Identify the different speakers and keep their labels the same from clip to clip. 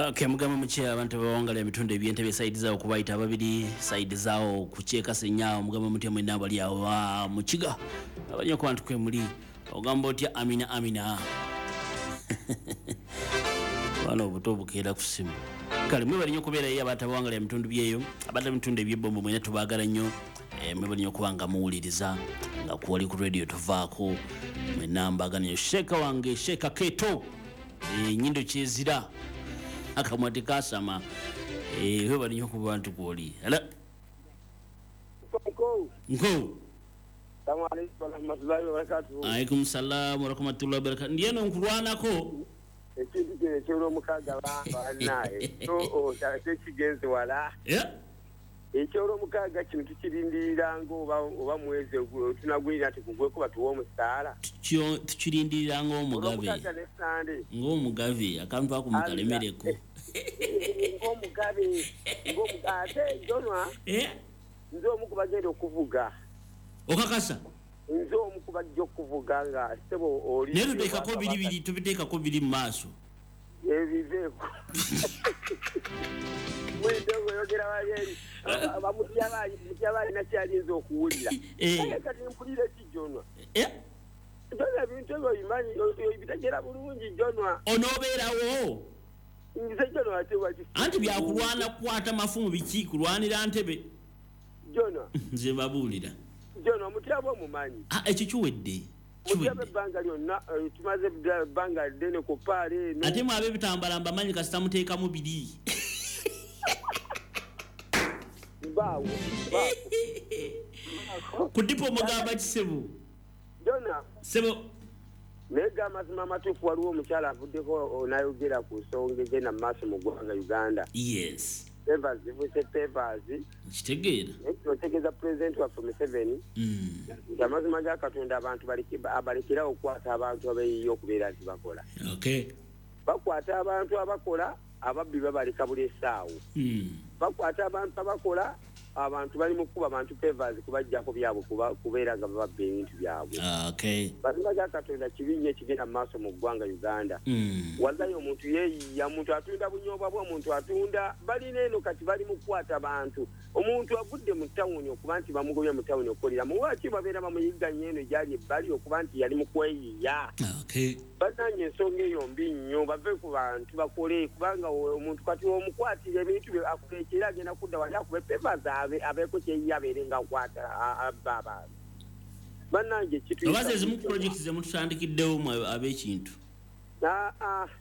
Speaker 1: Okay, mugamba muki abantu abawangala emitundu ebyentebe side zaawo kubayita ababiri side zaawo kukyekasenya? Mugamba mutya mwenna abali awo mukiga abali ku bantu kwemuli? Ogamba otya? Amina, amina. Bana obuto obukeera ku ssimu. Kale mwebali nnyo okubeerayo abantu abawangala emitundu byeyo, abantu emitundu ebyebombo, mwena tubaagala nnyo. Mwebali nnyo okuba nga muwuliriza nga kwoli ku radio tuvaako. Mwena mbagala nnyo. Sheeka wange, Sheeka Keto, nyindo kyezira akamwa tekasama. Webali nnyo okuba nti kwoli. Ala. Nko.
Speaker 2: Assalamu alaikum warahmatullahi wabarakatuhu.
Speaker 1: Alaikum salam warahmatullahi wabarakatuh. Ndiye no nkulwanako.
Speaker 2: Ekintu kino ekyolwomukaaga banaye tekigenze wala. Ekyolwomukaaga kino tukirindiriranga oba mwezi tunagwirira nti kugweko batuwe omusaala.
Speaker 1: Tukirindirira ng'omugabe.
Speaker 2: Olwomukaaga ne Sande.
Speaker 1: Ng'omugabe akantu ako mukalemereko.
Speaker 2: Ng'omugabe, ng'omugabe ate Jonwa. Nze omu ku bagenda okuvuga.
Speaker 1: Okakasa?
Speaker 2: Nze omu ku bajja okuvuga nga ssebo oli.
Speaker 1: Naye tuteekako biri biri, tubiteekako biri mu maaso.
Speaker 2: Ebiveeko. Mwidde ng'oyogera wali eri. Mutyaba alina ky'ayinza okuwulira. Kale kati mpulira ki, Jonwa? Jonwa, ebintu ebyo obimanyi, obitegeera bulungi, Jonwa.
Speaker 1: Onoobeerawo?
Speaker 2: Nze Jonwa ate waki?
Speaker 1: Anti byakulwana kukwata mafumu biki, kulwanira ntebe.
Speaker 2: Jonwa.
Speaker 1: Nze babuulira.
Speaker 2: Jonwa, Mutyaba omumanyi.
Speaker 1: Ekyo kiwedde.
Speaker 2: Mutyaba ebbanga lyonna, tumaze ebbanga ddene ku ppaala eno.
Speaker 1: Ate mwe ab'ebitambala mbamanyi, kasita muteekamu biri.
Speaker 2: Mbaawo, mbaawo.
Speaker 1: Ku dipo mugamba kisebo.
Speaker 2: Jonwa.
Speaker 1: Sebo.
Speaker 2: Naye ga amazima amatuufu, waliwo omukyala avuddeko n'ayogera ku nsonga egenda mu maaso mu ggwanga Uganda.
Speaker 1: Yes.
Speaker 2: Pavers zifuuse pavers.
Speaker 1: Nkitegeera.
Speaker 2: Naye kino kitegeeza pulezidenti waffe Museveni nti amazima ga Katonda abantu abalekerawo okukwata abantu abeeyiiya okubeera nti bakola. Bakwata abantu abakola, ababbi babaleka buli essaawo. Bakwata abantu abakola, abantu bali mu kkuba abantu pavers kubaggyako byabwe kubeera nga bababba ebintu byabwe. Mazima ga Katonda kibi nnyo ekigenda mu maaso mu ggwanga Uganda. Wallahi omuntu yeeyiiya, omuntu atunda bunyobwa bwe, omuntu atunda, balina eno kati bali mu kukwata bantu. Omuntu avudde mu tawuni okuba nti bamugobye mu tawuni okukoleramu, lwaki babeera bamuyigganya eno gy'ali ebbali okuba nti yali mu kweyiiya? Bannange ensonga eyo mbi nnyo, bave ku bantu bakole, kubanga omuntu kati omukwatira ebintu bye akulekera agenda kudda wali akube pavers abeeko kyeyiiya abeere nga akwata abba abantu. Bannange kituyisa
Speaker 1: Oba ze zimu ku project ze mututandikiddewo mwe ab'ekintu.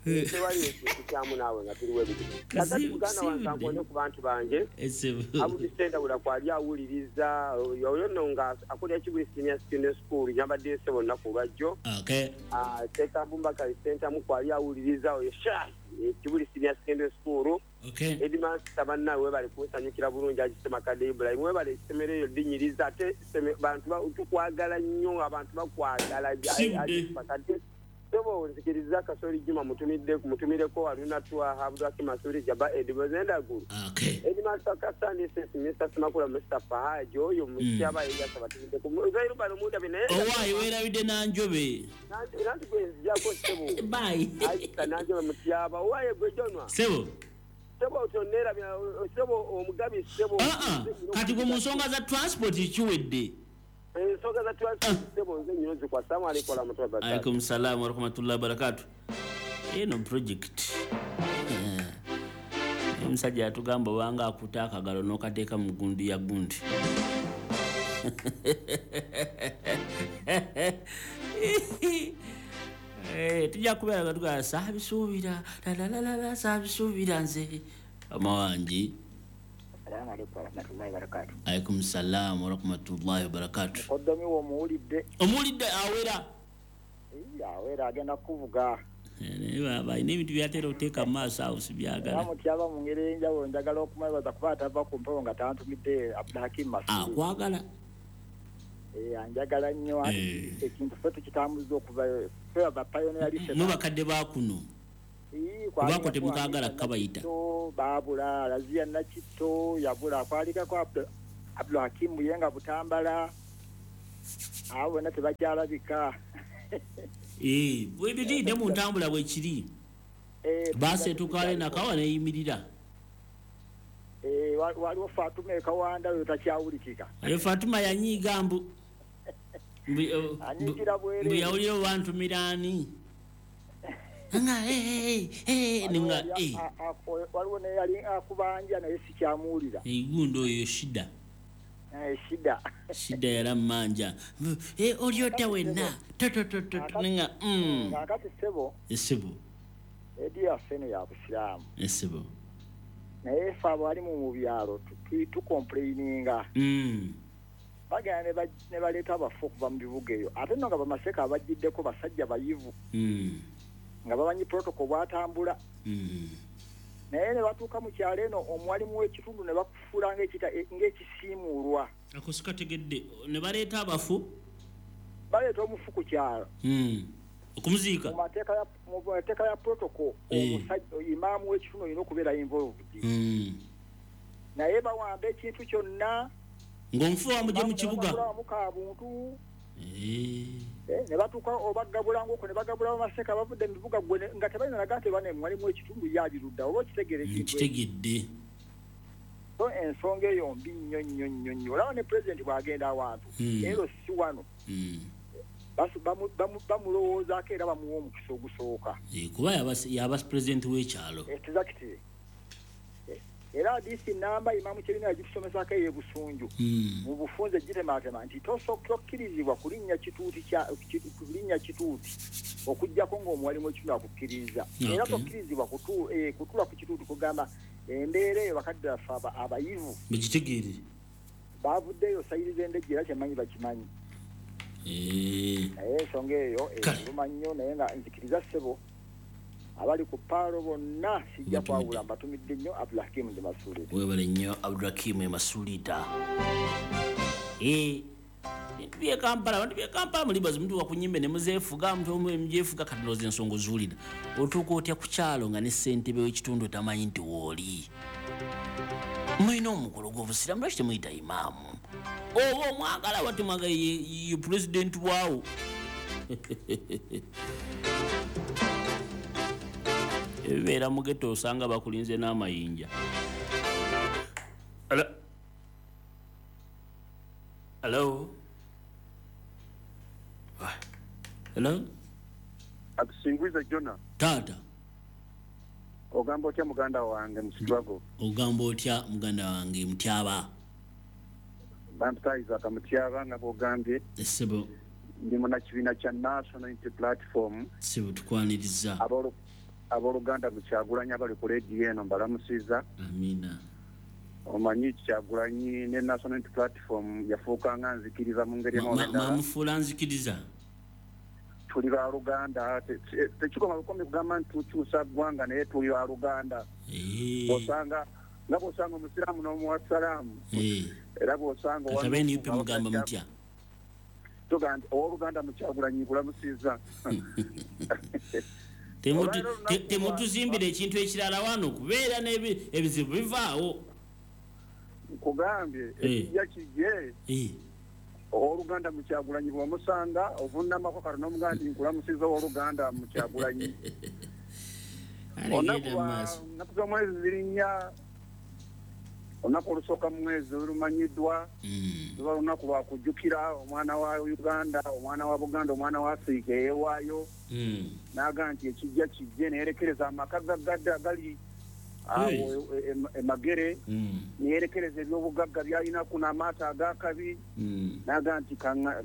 Speaker 2: Tewali ekintu kyamu naawe nga tuli webiti. Kakati muganda wange kankone ku bantu bange. Abudi Sendawula kwali awuliriza oyo nno nga akulira Kibuli Senior Secondary School gyambadde ssebo olunaku olwajjo. Sheikh Abubakar Ssentamu kwali awuliriza oyo sha Kibuli Senior Secondary School. Headmaster bannange webale kunsanyukira bulungi, Haji Ssemakadde Ibrahim webale essomero eryo linyiriza ate bantu tukwagala nnyo, abantu bakwagala. Haji Ssemakadde. Sebo nzikiriza Kasoli Juma mutumireko Haruna Twaha Abdulhakim Masudi Jaba Edi Bozendaguru. Headmaster Kasandi SS Mr. Ssemakula Mustafa Haji oyo mutyaba yeyasa batumiddeko. Zairu bano mundabe naye.
Speaker 1: Owaayi weerabidde Nanjobe.
Speaker 2: Nanti gwe nzijako ssebo.
Speaker 1: Bye.
Speaker 2: Aisha Nanjobe mutyaba. Owaayi gwe Jonwa.
Speaker 1: Sebo.
Speaker 2: Sebo otonneerabira, sebo omugabi ssebo.
Speaker 1: Kati gwe mu nsonga za transport kiwedde.
Speaker 2: Ensonga za transport ssebo nze nnyo nzikwa. Assalamu alaikum warahmatullahi wabarakatuh.
Speaker 1: Alaikum salam warahmatullahi wabarakatuh. Eno project. Omusajja yatugamba obanga akuta akagalo n'okateeka mu gundi ya gundi. Tujja kubeera nga tugamba saabisuubira, lalalala, saabisuubira nze. Mama wange.
Speaker 3: Assalamu alaikum warahmatullahi wabarakatuh.
Speaker 1: Alaikum salam warahmatullahi wabarakatuh.
Speaker 3: Mukoddomi wo omuwulidde.
Speaker 1: Omuwulidde awera.
Speaker 3: Awera agenda kuvuga.
Speaker 1: Naye baba alina ebintu by'atera okuteeka mu maaso awo sibyagala.
Speaker 3: Era mutyaba mu ngeri ey'enjawulo njagala okumwebaza kuba atava ku mpewo nga tantumidde Abdulhakim Masudi.
Speaker 1: Akwagala.
Speaker 3: Anjagala nnyo. Ekintu ffe tukitambuza okuva ffe aba pioneer listeners.
Speaker 1: Mwe bakadde ba kuno. Kubako temukaagala kukabayita.
Speaker 3: Baabula, Razia Nakitto yabula, kwalikako Abdulhakim Buyenga Butambala. Abo bonna tebakyalabika.
Speaker 1: Bwe biri ne mu ntambula bwe kiri. Baasi etuuka nakawa neyimirira.
Speaker 3: Waliwo Fatuma ekawanda oyo takyawulikika.
Speaker 1: Oyo Fatuma yanyiiga mbu
Speaker 3: anyiigira bwereere.
Speaker 1: Mbu yawulira obantumira ani? Nga nga
Speaker 3: waliwo neyali akubanja naye sikyamuwulira.
Speaker 1: Gundi oyo shida.
Speaker 3: Shida.
Speaker 1: Shida yala mmanja. Oli otya wenna? Nga
Speaker 3: Kaakati ssebo.
Speaker 1: Ssebo.
Speaker 3: Edi yaffe eno ya Busiraamu.
Speaker 1: Ssebo.
Speaker 3: Naye ffe abalimu mu byalo tukomplaininga. Bagenda ne baleeta abafu okuva mu bibuga eyo. Ate nno nga bamaseka abajjiddeko basajja bayivu. Nga bamanyi protocol bw'atambula. Naye ne batuuka mu kyalo eno omuwalimu w'ekitundu ne bakufuula ng'ekisiimuulwa.
Speaker 1: Ako sikategedde. Ne baleeta abafu?
Speaker 3: Baleeta omufu ku kyalo.
Speaker 1: Okumuziika?
Speaker 3: Mu mateeka ya protocol, omusajja imaamu w'ekitundu olina okubeera involved. Naye bawamba ekintu kyonna.
Speaker 1: Ng'omufu wamugye mu kibuga?
Speaker 3: Kabuntu. Ne batuuka obagabulanga okwo ne bagabula bamaseka bavudde mu bibuga gwe nga tebalina naga nti bane mwalimu w'ekitundu yalirudda oba okitegeera ekintu.
Speaker 1: Nkitegedde.
Speaker 3: So ensonga eyo mbi nnyo nnyo nnyo nnyo. Olaba ne pulezidenti bw'agenda awantu ero si wano. Bamulowoozaako era bamuwa omukisa ogusooka.
Speaker 1: Kuba yaba pulezidenti w'ekyalo.
Speaker 3: Exactly. Era disi namba Imamu Kyebina yagitusomesako ey'e Busunju. Mu bufunze gitematema nti tokkirizibwa kulinnya kituuti kulinnya kituuti okuggyako ng'omuwalimu w'ekitundu akukkiriza. Era tokkirizibwa kutuula ku kituuti kugamba embeera eyo bakadde baffe abayivu.
Speaker 1: Mugitegeere.
Speaker 3: Bavuddeyo sayiriza endejje era kyemmanyi bakimanyi. Naye ensonga eyo eruma nnyo naye nga nzikiriza ssebo abali ku paalo bonna sijja kwawula mbatumidde nnyo Abdulhakim ndi Masuulita.
Speaker 1: Weebale nnyo Abdulhakim Masuulita. Bintu by'e Kampala, abantu by'e Kampala muli bazi mutuuka ku nnyimbe ne muzeefuga, mugyefuga kati ndowooza ensonga oziwulira. Otuuka otya ku kyalo nga ne ssentebe w'ekitundu tamanyi nti w'oli. Mulina omukolo gw'obusiraamu lwaki temuyita imaamu? Oba omwagala oba temwagala ye pulezidenti waawo. Ebibeera mu ghetto osanga bakulinze n'amayinja. Hello? Hello? Hello?
Speaker 4: Atusingwiza Jona.
Speaker 1: Tata.
Speaker 4: Ogamba otya muganda wange mu struggle?
Speaker 1: Ogamba otya muganda wange Mutyaba?
Speaker 4: Bampita Mutyaba nga bw'ogambye.
Speaker 1: Ssebo.
Speaker 4: Ndi munnakibiina kya National Unity Platform.
Speaker 1: Ssebo tukwaniriza.
Speaker 4: Abooluganda mu Kyagulanyi abali ku leediyo eno mbalamusiza.
Speaker 1: Amiina.
Speaker 4: Omanyi Kyagulanyi ne National Unity Platform yafuuka nga nzikiriza mu ngeri emu oba endala.
Speaker 1: Mwamufuula nzikiriza?
Speaker 4: Tuli baluganda, tekikoma bukomi kugamba nti tukyusa ggwanga naye tuli baluganda. Osanga nga bw'osanga omusiraamu n'omuwa salaamu. Era bw'osanga
Speaker 1: Kati aba NUP mugamba mutya?
Speaker 4: Tugamba nti owooluganda mu Kyagulanyi nkulamusiza.
Speaker 1: Temutuzimbira ekintu ekirala wano kubeera ebizibu bivaawo.
Speaker 4: Nkugambye ekijja kijje. Owooluganda mu Kyagulanyi bw'omusanga ovunnamako katono n'omugamba nti nkulamusiza owooluganda mu Kyagulanyi. Ennaku z'omwezi ziri nnya. Olunaku olusooka mu mwezi olumanyiddwa luba lunaku lwa kujjukira omwana wa Uganda, omwana wa Buganda, omwana wa Afirika eyeewaayo n'agamba nti ekijja kijje neyerekereza amaka gaggadde agali awo e Magere, neyerekereza ebyobugagga byalina kuno amaato ag'akabi n'agamba nti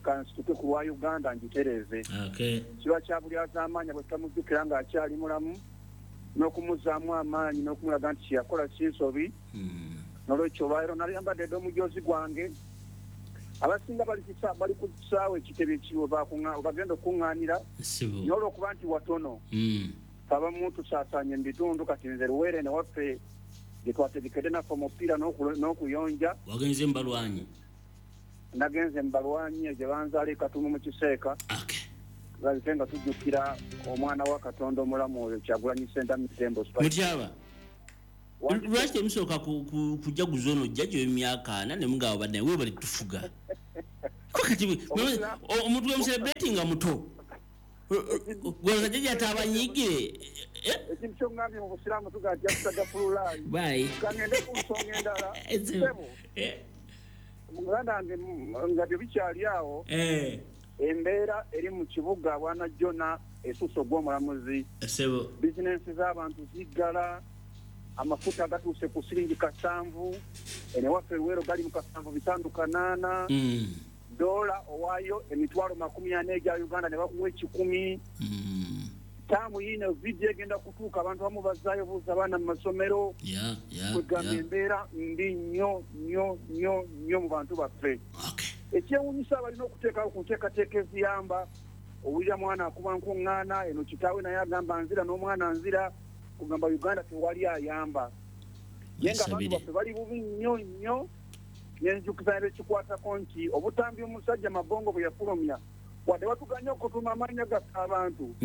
Speaker 4: kansituke ku lwa Uganda ngitereeze. Kiba kya bulyazaamaanyi bwe tutamujjukira ng'akyali mulamu n'okumuzzaamu amaanyi n'okumulaga nti kye yakola si nsobi. Nolwekyo olwaleero nali yambadde dde omujoozi gwange. Abasinga bali ku kisaawe ekitebe kiwe bagenda okuŋŋaanira naye olw'okuba nti watono abamu tusaasaanye mu bitundu. Kati nze Luweere ne waffe gye twategekedde naffe omupiira n'okuyonja.
Speaker 1: Wagenze mu balwanyi?
Speaker 4: Nagenze mu balwanyi gye banzaala e Katumu mu Kiseeka. Balite nga tujjukira omwana wa Katonda omulamu oyo Kyagulanyi Ssentamu Tembo.
Speaker 1: Mutyaba, lwaki temusooka kujaguza ono jjajja w'emyaka 40 ne mugamba badde weebale tufuga? Kati omuntu gwe mucelebratinga muto. Gwe jjajja tabanyigire.
Speaker 4: Ekintu ky'ongambye mu busiraamu tugamba nti astagfirullah.
Speaker 1: Bye.
Speaker 4: Kangende ku nsonga endala. Ssebo. Muganda wange nga tebikyali awo. Embeera eri mu kibuga bwana Jona esusse ogw'omulamuzi.
Speaker 1: Ssebo.
Speaker 4: Bizinensi z'abantu ziggala, amafuta gatuuse ku siringi 7, eno ewaffe Luweero gali mu 7.58. Dola owaayo emitwalo 40 egya Uganda ne bakuwa 1,000. Taamu yiino vidiyo egenda kutuuka abantu abamu bazzaayo buuza abaana mu masomero. Kwegamba embeera mbi nnyo nnyo nnyo nnyo mu bantu baffe. Ekyewuunyisa balina okuteekawo ku nteekateeka eziyamba. Owulira mwana akuba nkuŋŋaana, eno kitaawe naye agamba nzira n'omwana nzira, kugamba Uganda tewali ayamba. Naye nga abantu baffe bali bubi nnyo nnyo. Nenjukiza ekikwatako nti obutambi omusajja Mabongo bwe yafulumya, wadde batuganye okutuuma amannya gaffe abantu,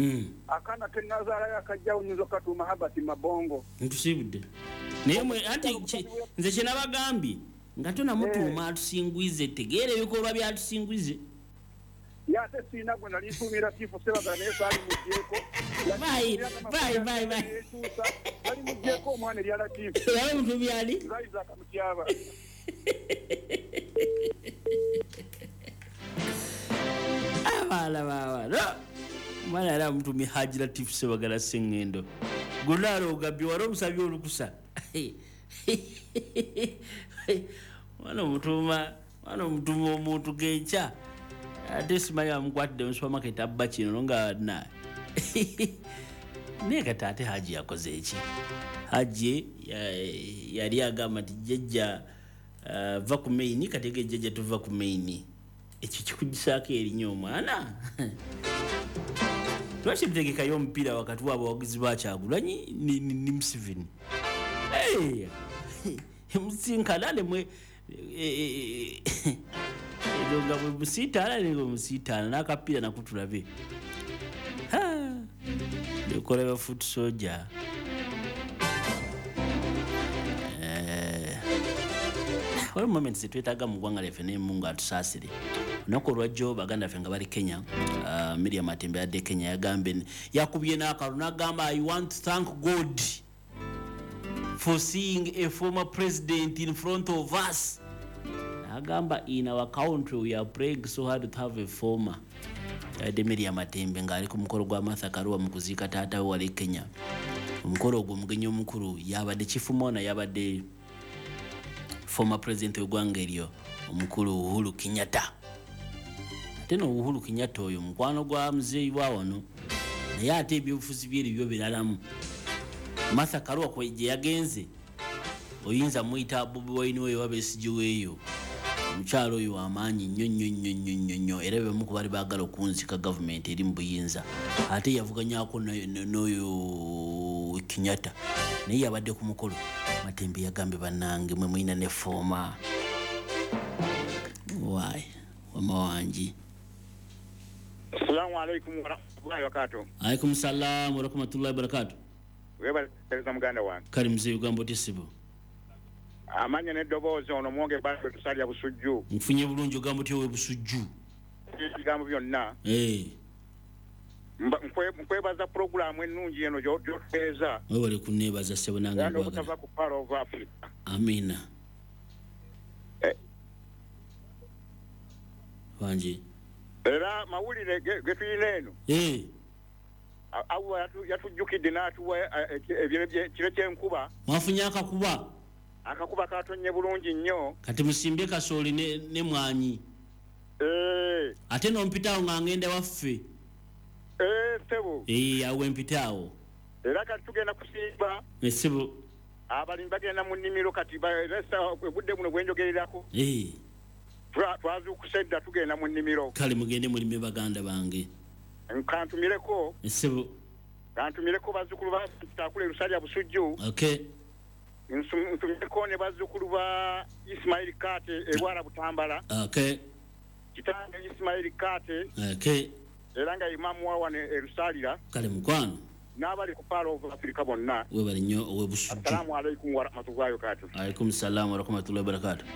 Speaker 4: akaana ke nnazaalayo akajjawo nnyinza okukatuuma Herbert Mabongo.
Speaker 1: Ntusiibudde. Naye mwe anti nze kye nabagambye nga tonamutuuma atusingwize, tegeera ebikolwa by'atusingwize.
Speaker 4: Ye ate sirina gwe nali ntuumira Tifu Ssebagala naye saali muggyeko.
Speaker 1: Bye, bye, bye, bye.
Speaker 4: Nali muggyeko omwana erya Latifu.
Speaker 1: Yali omutuumye ani?
Speaker 4: Nze Isaac Mutyaba.
Speaker 1: Abaana baabano. Omwana yali amutumye Haji Latifu Ssebagala Ssengendo. Gunaalo ogambye wali omusabye olukusa. Mwana omutuuma omuntu genkya. Ate simanyi amukwatidde mu supermarket abba kino nga na. Naye kati ate Haji yakoze eki? Haji yali agamba nti jjajja va ku maini, kati ge jjajja tuva ku maini. Ekyo kikugisaako erinnya omwana. Lwaki mutegekayo omupiira wakati w'abawagizi ba Kyagulanyi ne Museveni? Musinkana nemwe ezo nga bwe musiitaana ne bwe musiitaana n'akapiira nako tulabe. Bikola ba foot soldier. Waliwo moments zetwetaaga mu ggwanga lyaffe naye Mungu atusaasire. Olunaku olwajjo baganda baffe nga bali Kenya, Miriam Matembe yadde Kenya yagambye yakubye n'akalulu n'agamba I want to thank God for seeing a former president in front of us. Agamba in our country we are praying so hard to have a former. Yadde Miriam Matembe ng'ali ku mukolo gwa Martha Karua mu kuziika taata we wali Kenya. Omukolo ogwo omugenyi omukulu yabadde Chief Mona, yabadde former president w'eggwanga eryo omukulu Uhuru Kenyatta. Ate no Uhuru Kenyatta oyo mukwano gwa muzeeyi wa wano, naye ate ebyobufuzi bye ebyo biralamu. Martha Karua kwe gye yagenze oyinza muyita Bobi Wine oyo oba Besigye weeyo. Omukyalo oyo w'amaanyi nnyo nnyo nnyo nnyo nnyo nnyo, era be bamu ku baali baagala okunzika gavumenti eri mu buyinza. Ate yavuganyako n'oyo Kenyatta, naye yabadde ku mukolo. Matembe yagambye bannange mwe mulina ne former. Why? Wama wangi.
Speaker 5: Assalamu alaikum warahmatullahi wabarakatuh.
Speaker 1: Alaikum salam warahmatullahi wabarakatuh.
Speaker 5: Weebale muganda wange.
Speaker 1: Kale muzeeyi ogamba otya ssebo?
Speaker 5: Amanya n'eddoboozi ono mwonge bado tusalya Busujju.
Speaker 1: Nfunye bulungi ogamba otya owe Busujju?
Speaker 5: Ebigambo byonna. Nkwebaza pulogulaamu ennungi eno gy'otuweereza.
Speaker 1: Weebale kunneebaza ssebo nange
Speaker 5: Era
Speaker 1: nkwagala.
Speaker 5: n'obutava ku Pearl of Africa.
Speaker 1: Amiina. Wangi.
Speaker 5: Era mawulire ge tulina eno. Awo yatujjukidde n'atuwa ekiro ky'enkuba.
Speaker 1: Mwafunye akakuba?
Speaker 5: Akakuba katonnye bulungi nnyo.
Speaker 1: Kati musimbye kasooli ne mwanyi. Ate n'ompitaawo nga ngenda waffe.
Speaker 5: Ssebo.
Speaker 1: Awo empitaawo.
Speaker 5: Era kati tugenda kusimba.
Speaker 1: Ssebo.
Speaker 5: Abalimi bagenda mu nnimiro kati obudde buno bwe njogererako. Twazuukuse dda tugenda mu nnimiro.
Speaker 1: Kale mugende mulime baganda bange.
Speaker 5: Kantumireko.
Speaker 1: Ssebo.
Speaker 5: Kantumireko bazzukulu ba Takule Lusalya Busujju.
Speaker 1: Okay.
Speaker 5: Ntumireko ne bazzukulu ba Ismail Kate e Bwala Butambala.
Speaker 1: Okay.
Speaker 5: Kitange Ismail Kate.
Speaker 1: Okay.
Speaker 5: Era nga imamu wa wano e Lusalira.
Speaker 1: Kale mukwano.
Speaker 5: N'abali ku Pearl of Africa bonna.
Speaker 1: Webale nnyo owe Busujju.
Speaker 5: Assalamu alaikum warahmatullahi wabarakatuh.
Speaker 1: Alaikum salaam warahmatullahi wabarakatuh.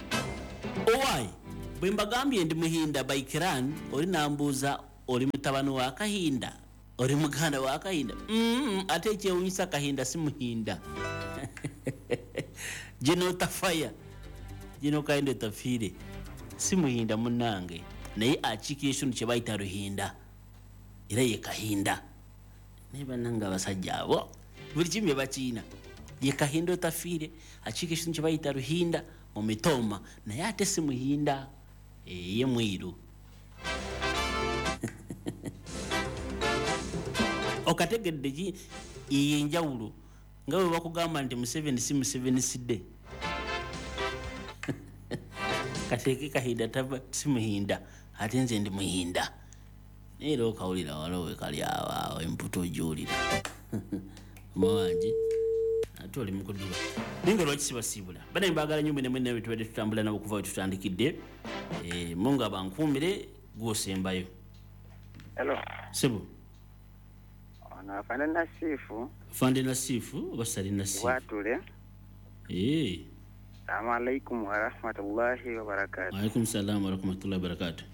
Speaker 1: Owai, bwe mbagambye ndi Muhinda Baikiran, oli nambuuza oli mutabani wa Kahinda. Oli muganda wa Kahinda? Ate ekyewunyisa Kahinda si muhinda. Gino tafaya. Gino Kahinda tafiire. Si muhinda munnange. Naye akiikira ekitundu kye bayita Ruhinda. Era ye Kahinda. Naye bannange abasajja abo buli kimu bye bakiina. Ye Kahinda otafiire, akiikira ekitundu kye bayita Ruhinda mu Mitooma, naye ate si muhinda. Ye mwiru. Okategedde ki yenjawulo nga bwe bakugamba nti Museveni si Museveni sidde. Kateeke Kahinda tava si muhinda, ate nze ndi muhinda. Naye era okawulira waliwo we kali awo emputa ogiwulira. Mawangi ate oli mu kuduba. Naye nga lwaki sibasiibula? Bannange mbaagala nnyo mwenna mwenna be tubadde tutambula nabo okuva we tutandikidde. Mungu abankuumire gw'osembayo.
Speaker 6: Hello.
Speaker 1: Ssebo.
Speaker 6: Ono afande Nasifu.
Speaker 1: Afande Nasifu oba Sali Nasifu?
Speaker 6: Bwatule. Assalamu alaikum warahmatullahi wabarakatuh.
Speaker 1: Alaikum salam warahmatullahi wabarakatuh.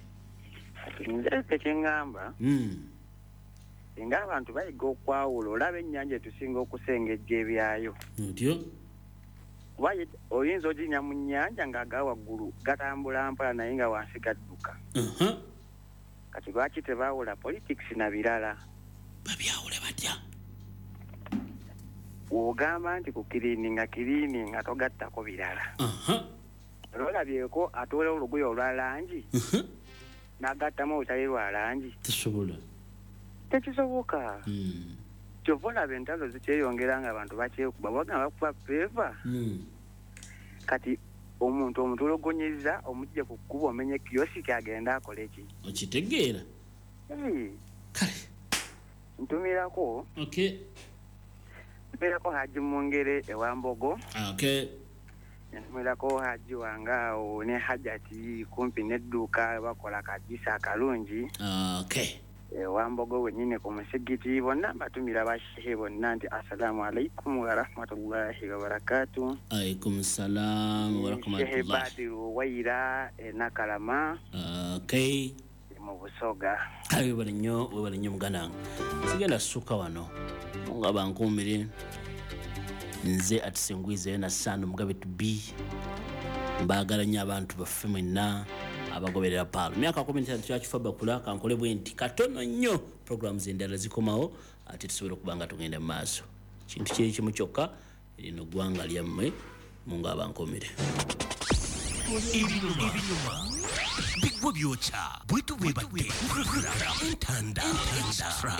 Speaker 6: Nze kyeŋŋamba. Singa abantu bayiga okwawula, olaba ennyanja etusinga okusengejja ebyayo.
Speaker 1: Otyo?
Speaker 6: Kuba oyinza oginya mu nnyanja ng'aga waggulu gatambula mpola naye nga wansi gadduka. Kati lwaki tebaawula politics na birala?
Speaker 1: Babyawule batya?
Speaker 6: W'ogamba nti ku kiriininga togattako birala. Olwolabyeko atoola olugoye olwa langi n'agattamu olutali lwa langi.
Speaker 1: Tesobola.
Speaker 6: Tekisoboka. Kyova olaba entalo zikyeyongera ng'abantu bakyekuba, bagamba bakuba feeva. Kati omuntu omutulogonyeza omujje ku kkubo omenye kiyosiki agende akole ki?
Speaker 1: Okitegeera? Kale.
Speaker 6: Ntumirako.
Speaker 1: Okay.
Speaker 6: Ntumirako Haji Mungere ewa Mbogo.
Speaker 1: Okay.
Speaker 6: Ntumirako Haji wange awo ne Hajati kumpi n'edduuka bakola kajisa akalungi.
Speaker 1: Okay.
Speaker 6: Ewa Mbogo wennyini ku musigiti bonna mbatumira bashehe bonna nti assalamu alaikum warahmatullahi wabarakatuh.
Speaker 1: Alaikum salam warahmatullahi.
Speaker 6: Shehe Badiru Waira e Nakalama.
Speaker 1: Okay.
Speaker 6: Mu Busoga.
Speaker 1: Kale webale nnyo muganda wange. Sigenda ssuka wano. Mungu abankuumire. Nze atusingwizeyo na Sano Mugabe to be. Mbaagala nnyo abantu baffe mwenna abagoberera Paalo. Myaka 15 kyakifa bakula kankole bwe nti katono nnyo programs endala zikomawo ate tusobola okuba nga tugenda mu maaso. Kintu kiri kimu kyokka lino ggwanga lyammwe. Mungu abankuumire.
Speaker 7: Ebinyuma bigwa byokya bwetu bwebadde Entanda Extra.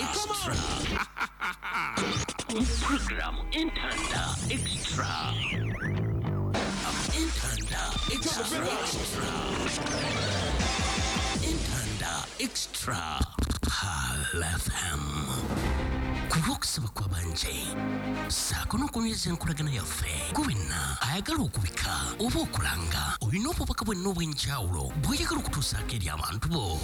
Speaker 7: Program Entanda Extra. Entanda Extra. Entanda Extra. Pearl FM. Ku lw'okusaba kw'abanje ssaako n'okunyweza enkolagana yaffe gwe wenna ayagala okubika oba okulanga olina obubaka bwenna obw'enjawulo bw'oyagala okutuusaako eri abantu bo.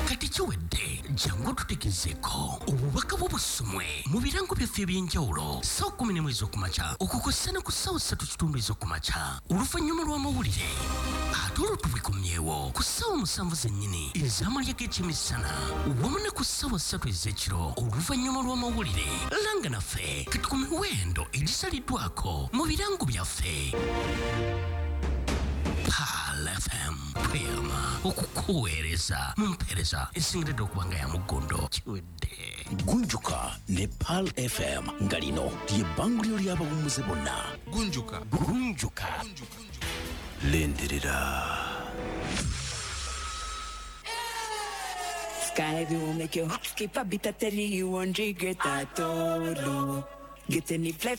Speaker 7: Kati kiwedde jangu otutegezeeko obubaka bwo busomwe mu birango byaffe eby'enjawulo ssaawa 11 ez'okumakya okukosa ne ku ssaawa 3:15 ez'okumakya oluvannyuma lw'amawulire ate olwo tubikomyewo ku ssaawa 7 zennyini ez'amalya g'ekyemisana wamu ne ku ssaawa 3 ez'ekiro oluvannyuma lw'amawulire. Langa naffe kati ku miwendo egisaliddwako mu birango byaffe. Pearl FM tweyama okukuweereza mu mpeereza esingiridde okuba nga ya muggondo. Kiwedde.
Speaker 8: Gunjuka ne Pearl FM nga lino ly'ebbanguliro ly'abawummuze bonna.
Speaker 9: Gunjuka.
Speaker 8: Gunjuka. Lindirira.
Speaker 10: Sky will make your heart skip a bit at the 1 regret at all. Get any fly.